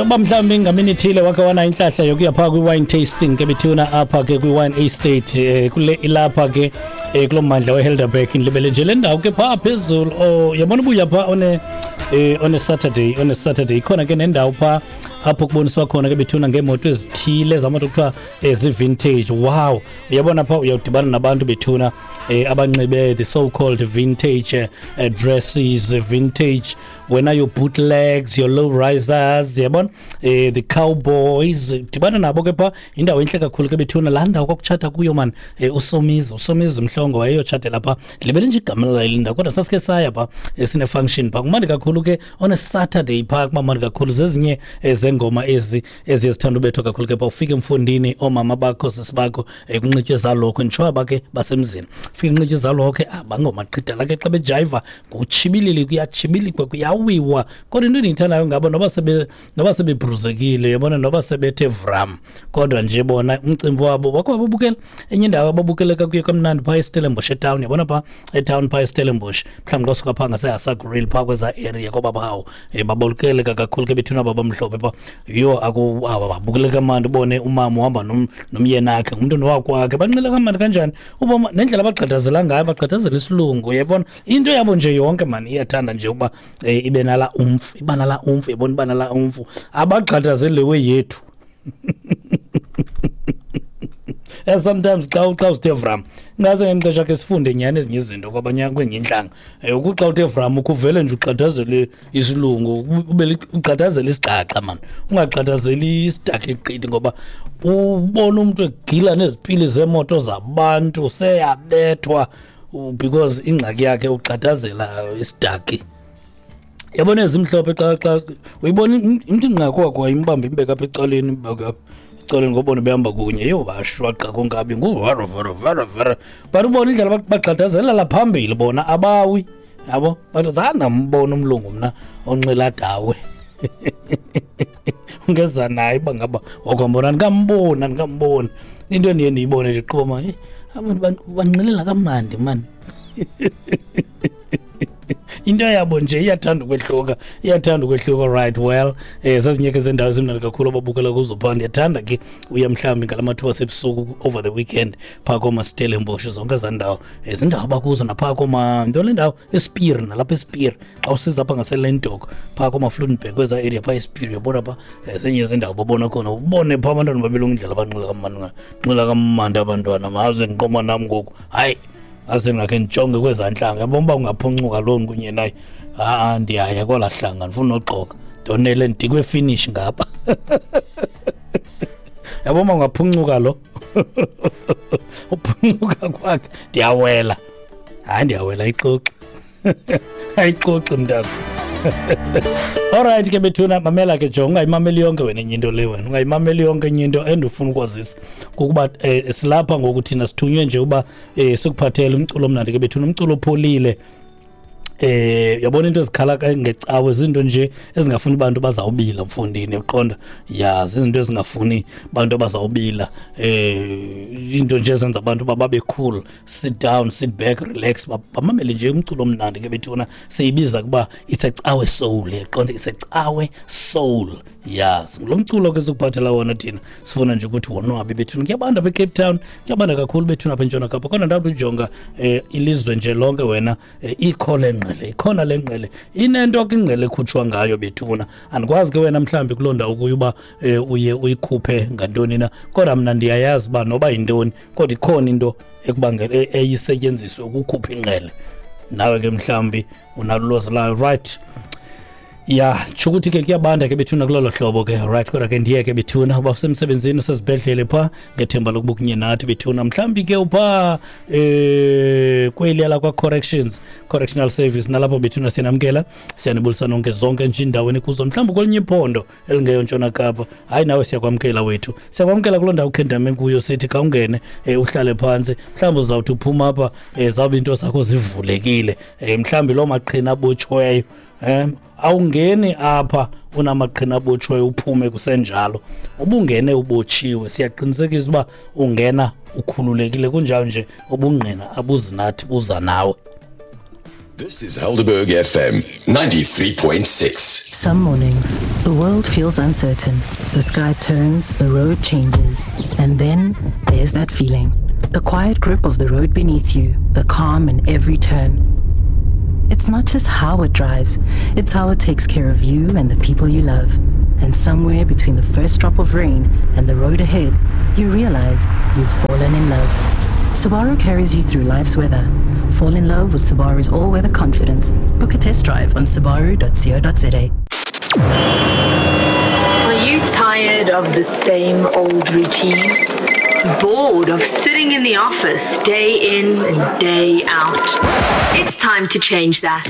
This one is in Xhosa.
Uba mhlawumbi ngamini ithile wakhe wana intlahla yokuya phaa kwi-wine tasting ke bethuna apha ke kwi-wine estate kule ilapha ke kulo mmandla weHelderberg, ndilibele nje le ndawo ke phaa phezulu. Oh, yabona ubuya phaa one on a Saturday ikhona ke nendawo phaa apho kuboniswa khona ke bethuna ngeemoto ezithile zamoto kuthiwa zii-vintage. Wow, uyabona phaa uyawudibana nabantu bethuna abanxibe the so called vintage dresses, vintage wena, your bootlegs, your low risers, yabona, the cowboys. Dibana nabo ke phaa. Indawo entle kakhulu ke bethuna laa ndawo kwakutshata kuyo man uSomizi Mhlongo wayeyotshatela phaa. Ndilibele nje igama layo le ndawo, kodwa sasike saya phaa sine-function phaa. Kumandi kakhulu ke on a Saturday phaa, kumamandi kakhulu. Zezinye zengoma ezi eziye zithanda ubethwa kakhulu ke phaa. Ufike emfundini, oomama bakho, sisi bakho, kunxitywe zalokho, nditsho aba ke basemzini, ufike kunxitywe zalokho, bangomaqhidala ke xa bejayiva ngokutshibilili, kuyatshibilikwa, kuyawiwa. Kodwa into endiyithandayo ngabo, noba sebebruzekile, yabona, noba sebethe vram, kodwa nje bona umcimbi wabo wakho babukela enye indawo ababukeleka kuyo kamnandi phaa eStellenbosch etown, yabona, phaa etown phaa eStellenbosch, mhlawumbi xa usuka phaa ngaseHasa Grill phaa kweza area kobabawo, babukeleka kakhulu ke bethuna babamhlophe phaa. Yho, aku babukeleka kamnandi. Ubone umama uhamba nomyeni akhe, ngumntu nowakwakhe, banxila kamnandi kanjani, uboma nendlela abagqadazela ngayo, bagqadazela isilungu, uyayibona into yabo nje yonke mani iyathanda nje uba ibe nala umfu, iba nala umfu, yabona, iba nala umfu. Abagqadazeli le way yethu. Sometimes xa uzithe vram, ngase ngexesha ke sifunde nyhani ezinye izinto kwabanye kwenye intlanga. Ukuxa uthe vram ukuvele nje ugqadazele isilungu, ube ugqadazele isigaxa mani, ungagqadazeli isidakha eqithi, ngoba ubona umuntu egila nezipili zemoto zabantu seyabethwa because ingxaki yakhe ugqadazela isidaki. Yabona ezimhlophe, xa uyibona imthi nqako wakho imbambe, imbeka apha ecaleni, imbeka apha ecaleni, ngobona behamba kunye, yho, bashwaqa konkabi nguvara vara vara vara, but ubona indlela bagqadazelela phambili bona, abawi yabo. But zange ndambona umlungu mna onxila dawe ungeza naye uba ngaba wakwambona. Ndingamboni, andingamboni. Into endiye ndiyibone nje qoma, abantu banxilela kamnandi mani. Into yabo nje iyathanda ukwehluka, iyathanda ukwehluka. Right, well, zezinye ke zendawo ezimnandi kakhulu ababukela kuzo phaa. Ndiyathanda ke uya mhlawumbi ngala mathuba sebusuku over the weekend phaa koomaStellenbosch, zonke ezaa ndawo, zindawo abakuzo, naphaa kooma nto le ndawo eSpier, nalapha eSpier xa usiza apha ngaseLentok phaa koomaVlooienburg, kwezaa area phaa eSpier, uyabona phaa, zenye zendawo babona khona. Ubone phaa abantwana babelungu indlela abanxila kamnandi, nxila kamnandi abantwana. Maze ndiqoma nam ngoku, hayi, ase ngakhe ndijonge kwezaa ntlanga, yabona uba ungaphuncuka loo kunye naye. Ha, ndiyaya kwelaa hlanga, ndifuna noxoka, ndonele ndidikwe finish ngapha, yabona uba ungaphuncuka lo, uphuncuka kwakhe ndiyawela. Hayi, ndiyawela, ayixoxi, ayixoxi mntasi. Alright ke bethuna, mamela ke, jonga, ungayimameli yonke wena enye into le, wena ungayimameli yonke enye into. Endifuna ukwazisa kukuba silapha ngoku thina sithunywe nje uba sikuphathele umculo omnandi ke bethuna, umculo opholile. Yabona into ezikhala ngecawe zinto nje ezingafuni abantu bazawubila mfundini, uqonda ya, zizinto ezingafuni abantu abazawubila, into nje ezenza abantu babe cool, sit down, sit back, relax, bamamele nje umculo omnandi ke bethuna. Siyibiza kuba it's a cawe soul, yaqonda, it's a cawe soul. Ya, lo mculo ke sikuphathela wona thina sifuna nje ukuthi wonwabe bethuna. Kuyabanda apha eCape Town, kuyabanda kakhulu bethuna apha eNtshona Kapa, kodwa ndakujonga ilizwe nje lonke wena, ikho le ngqele, ikhona le ngqele, inento ke ingqele ekhutshwa ngayo bethuna. Andikwazi ke wena mhlawumbi kuloo ndawo kuyo uba uye uyikhuphe ngantoni na, kodwa mna ndiyayazi uba noba yintoni, kodwa ikhona into ekubangela eyisetyenziswe ukukhupha ingqele. Nawe ke mhlawumbi unalo ulwazi layo. Right, ya, tsho ukuthi ke kuyabanda ke bethuna kulolo hlobo ke. Right, kodwa ke ndiye ke bethuna uba usemsebenzini, usezibhedlele phaa, ngethemba lokuba kunye nathi bethuna. Mhlawumbi ke uphaa kweliya lakwa-corrections, correctional service, nalapho bethuna siyanamkela, siyanibulisa nonke, zonke nje iindawo kuzo. Mhlawumbi kwelinye iphondo elingeyo Ntshona Kapa, hayi, nawe siyakwamkela wethu, siyakwamkela kuloo ndawo ukhendame kuyo. Sithi khawungene, uhlale phantsi. Mhlawumbi uzawuthi uphuma apha, zawube iinto zakho zivulekile, mhlawumbi loo maqhina abotshweyo. Awungeni apha unamaqhina abotshweyo uphume kusenjalo. Ubungene ubotshiwe, siyaqinisekisa uba ungena ukhululekile, kunjalo nje ubungqina abuzinathi buza nawe. This is Helderberg FM 93.6. Some mornings, the world feels uncertain. The sky turns, the road changes, and then there's that feeling. The quiet grip of the road beneath you, the calm in every turn. It's not just how it drives, it's how it takes care of you and the people you love. And somewhere between the first drop of rain and the road ahead, you realize you've fallen in love. Subaru carries you through life's weather. Fall in love with Subaru's all-weather confidence. Book a test drive on subaru.co.za. Are you tired of the same old routine? Bored of sitting in the office day in and day out? It's time to change that.